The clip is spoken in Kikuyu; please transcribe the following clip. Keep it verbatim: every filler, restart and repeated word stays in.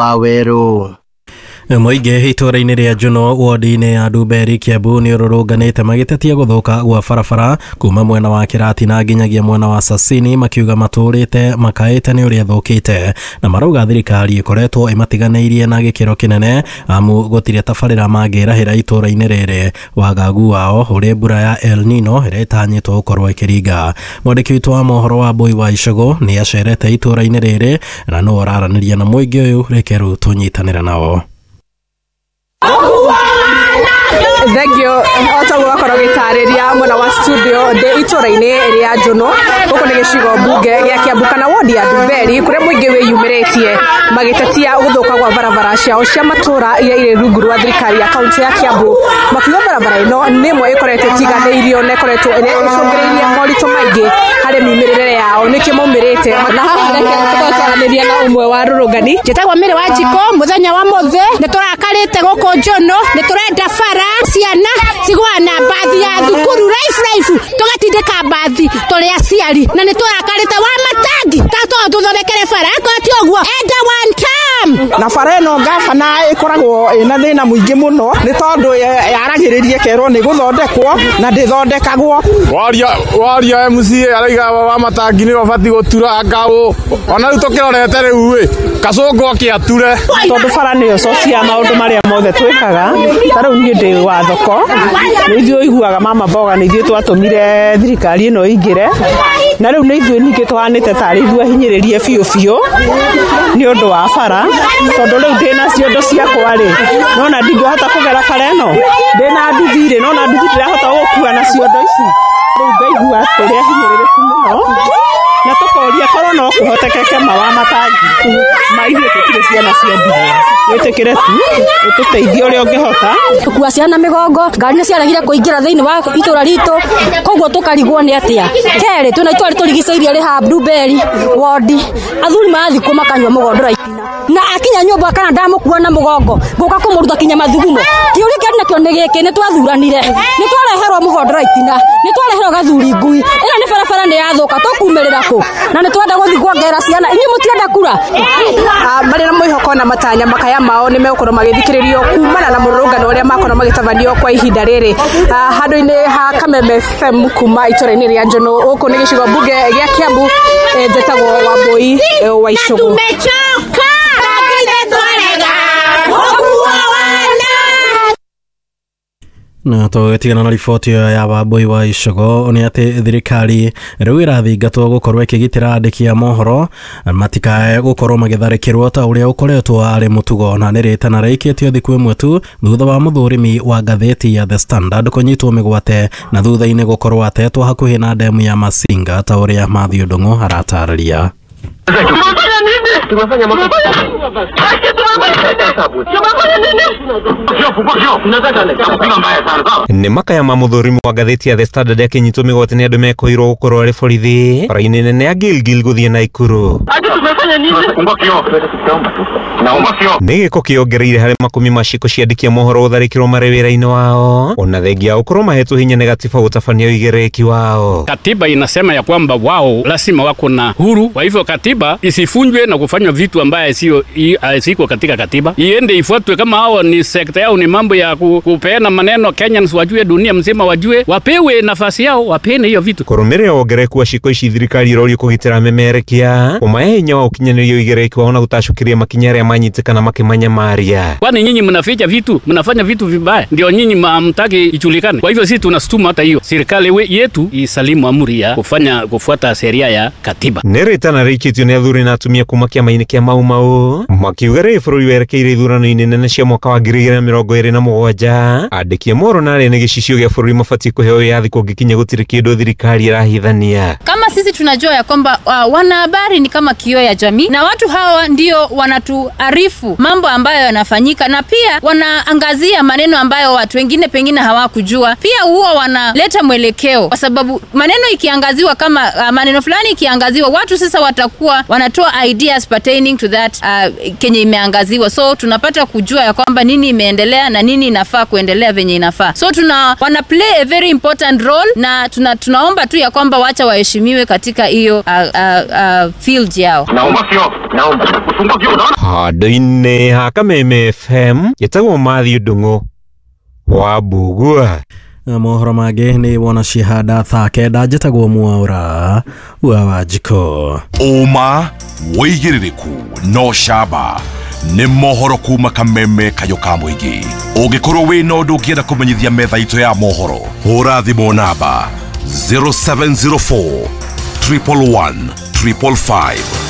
Waweru. Mũingĩ itũũra-inĩ rĩa Juno wodi-inĩ ya Ndumberi Kiambu nĩ ũrũrũnganĩte magĩtetia gũthũka gwa barabara kuma mwena wa Kĩratina nginyagia mwena wa Sasini, makiuga matũrĩte makaĩte nĩ ũrĩa thũkĩte, na marauga thirikari ĩkoretwo ĩmatiganĩirie na gĩkĩro kĩnene amu gũtirĩ tabarĩra mangĩrahĩra itũũra-inĩ rĩrĩ. Wagagu wao ũrĩ mbura ya El Nino ĩrĩa ĩtanyĩtwo gũkorwo ĩkĩringa. Mwandĩki witũ wa mohoro wa Mbui wa Icũgũ nĩ acerete itũũra-inĩ rĩrĩ na nĩwe ũraranĩria na mũingĩ ũyũ. Reke rĩu tũnyitanĩre nao. Thengio o ta ũguo wakorwo gĩtarĩria mwena wa studio ndĩ itũra-inĩ rĩa Njuno gũkũ nĩ gĩcigo mbunge gĩa Kiambu kana wodi ya Ndumberi kũrĩa mũingĩ wĩyumĩrĩtie magĩtetia gũthũka gwa barabara ciao cia matũra iria irĩ rungu rwa thirikari ya kaunti ya Kiambu, makiuga barabara ĩno nĩ ĩmwe ĩkoretwo ĩtiganĩirio na ĩkoretwo ĩrĩa ĩcũngĩrĩirie moritũ maingĩ harĩ miumĩrĩre yao nĩkĩo maumĩrĩte. Na haha reke tũkorwo twaranĩria na ũmwe wa rũrũngani. Njĩtagwo Mary wa Njiko, mũthenya wa mũthĩ nĩ tũrakarĩte gũkũ Njuno, nĩ tũrenda bara ciana cigũa na mbathi ya thukuru raifu raifu, tũgatindĩka mbathi tũrĩ aciari, na nĩ tũrakarĩte wa matangi ta to tũthondekere bara akorwo ti ũguo enda one time. Na bara ĩno gabana ĩkoragwo ĩna thĩna mũingĩ mũno nĩ tondũ yaragĩrĩria ĩkerwo nĩ gũthondekwo na ndĩthondekagwo. Waria waria M C A araiga wa matangi nĩ ũbatiĩ gũtura ngaũ, ona rĩu tũkĩrorete rĩu ĩ kacũngũ akĩature, tondũ bara nĩyo source ya maũndũ marĩa mothe twĩkaga. Ta rĩu niĩ ndĩ wa thoko, nĩ ithuĩ ũiguaga mama mboga nĩ ithuĩ twatũmire thirikari ĩno ĩingĩre, na rĩu nĩ ithuĩ ningĩ tũhanĩte tarĩ ithuĩ ahinyĩrĩrie biũ biũ nĩ ũndũ wa bara, tondũ rĩu ndĩna ciondo ciakwa rĩ, nona ndingĩhota kũgera bara ĩno, ndĩna nduthi rĩ, nona nduthi ndĩrahota gũkua na ciondo ici, rĩu ngaigua tũrĩ ahinyĩrĩrĩku mũno, na tũkoria korwo no kũhotekeke mawa matangi ma ithuĩ tũtirĩ ciana cia ndigwa, wĩtĩkĩre tu ũtũteithie ũrĩa ũngĩhota. Tũkua ciana mĩgongo, ngari nĩ ciaregire kũingĩra thĩinĩ wa itũra ritũ, koguo tũkarigwo nĩ atĩa. Kerĩ, twĩna itũra rĩtũrigicĩirie rĩ haha Ndumberi wodi, athuri marathiĩ kũ makanyua mũgondora itina, na akinya nyũmba kana ndamũkua na mũgongo ngũka kũmũruta kinya mathugumo. Kĩũria kĩarĩ nakĩo nĩ gĩkĩ, nĩ twathuranire, nĩ twareherwo mũgondora itina, nĩ twareherwo gathuri ngui, ĩno nĩ barabara nĩ yathũka, tũkumĩrĩra kũ? Na nĩ twenda gũthiĩ kuongerera ciana, inyuĩ mũtienda kura. Marĩ na mwĩhoko na matanya makaya mao nĩ megũkorwo magĩthikĩrĩrio kumana na mũrũrũngano ũrĩa makorwo magĩtabanio kwa ihinda rĩrĩ handũ-inĩ ha Kameme F M kuma itũra-inĩ rĩa Njuno gũkũ nĩ gĩcigo mbunge gĩa Kiambu. Njĩtagwo Wambui wa Icũgũ. Na tũgĩtigana na riboti ĩyo ya Wambui wa Icũgũ nĩ atĩ thirikari rĩu ĩrathingatwo gũkorwo ĩkĩgitĩra andĩki a mohoro matikae gũkorwo magĩtharĩkĩrwo ta ũrĩa ũkoretwo arĩ mũtugo, na nĩ rĩtana rĩikĩtio thikũ ĩmwe tu thutha wa mũthũrimi wa ngathĩti ya The Standard kũnyitwo mĩgwate na thutha-inĩ gũkorwo atetwo hakuhĩ na ndemu ya Masinga ta ũrĩa Matthew Ndung'u aratarĩria. Nĩ makaya ma mũthũrimi wa ngathĩti ya The Standard akĩnyitwo mĩgwate nĩ andũ mekoirwo gũkorwo arĩ borithi bara-inĩ nene ya Gilgil gũthiĩ Naikuru. Nĩ gĩko kĩongereire harĩ makũmi ma ciĩko cia andĩki a mohoro gũtharĩkĩrwo marĩ wĩra-inĩ wao, ona thengia wa gũkorwo mahetwo hinya nĩ gatiba gũtabania ũigĩrĩrĩki wao. Katiba inasema ya kwamba wao lazima wako na huru, kwa hivyo katiba isifunjwe na kufanywa vitu ambaye sio siko katika katiba, iende ifuatwe. Kama hao ni sekta yao ni mambo ya kupeana maneno, Kenyans wajue, dunia mzima wajue, wapewe nafasi yao, wapene hiyo vitu. Kũrũmĩrĩra wongerereku wa ciĩko ici thirikari ĩrorio kũgitĩra memerekia kũmahe hinya wa ũkinyanĩria ũigĩrĩrĩki wao na gũtacũkĩria makinya arĩa manyitĩkana makĩmanyamaria. Kwani nyinyi mnaficha vitu, mnafanya vitu vibaya, ndio nyinyi hamtaki ijulikane. Kwa hivyo sisi tunasutuma hata hiyo serikali yetu isalimu amri ya kufanya kufuata sheria ya katiba. Nĩ rĩtana rĩikĩtio nĩ athuri na atumia kuma kĩama-inĩ kĩa Mau Mau makiuga rĩrĩ bũrũri werekeire ithurano-inĩ nene cia mwaka wa ngiri igĩrĩ na mĩrongo ĩrĩ na mũgwanja, andĩki a mohoro na arĩa nĩ gĩcicio gĩa bũrũri mabatiĩ kũheo wĩyathi kũngĩkinya gũtirĩ kĩndũ thirikari ĩrahithania. Kama sisi tunajua ya kwamba uh, wanahabari ni kama kioo ya jamii, na watu hawa ndio wanatuarifu mambo ambayo yanafanyika, na pia wanaangazia maneno ambayo watu wengine pengine hawakujua. Pia huwa wanaleta mwelekeo, kwa sababu maneno ikiangaziwa kama uh, maneno fulani ikiangaziwa, watu sasa watakuwa wanatoa ideas pertaining to that uh, kenye imeangaziwa. inaangaziwa, so tunapata kujua ya kwamba nini imeendelea na nini inafaa kuendelea venye inafaa. So tuna wana play a very important role, na tuna, tunaomba tu ya kwamba wacha waheshimiwe katika hiyo uh, uh, uh, field yao. Handũ-inĩ ha Kameme F M njĩtagwo Matthew Ndung'u wa Mbugua. Mohoro mangĩ nĩ wona cihanda thaa kenda njĩtagwo Mwaura wa Wanjikũ. Ũma wĩigĩrĩrĩku no camba nĩ mohoro kuma Kameme kayũ ka mũingĩ. Ũngĩkorwo wĩna ũndũ ũngĩenda kũmenyithia metha itũ ya mohoro, hũra thimũ namba zero seven zero four triple one triple five.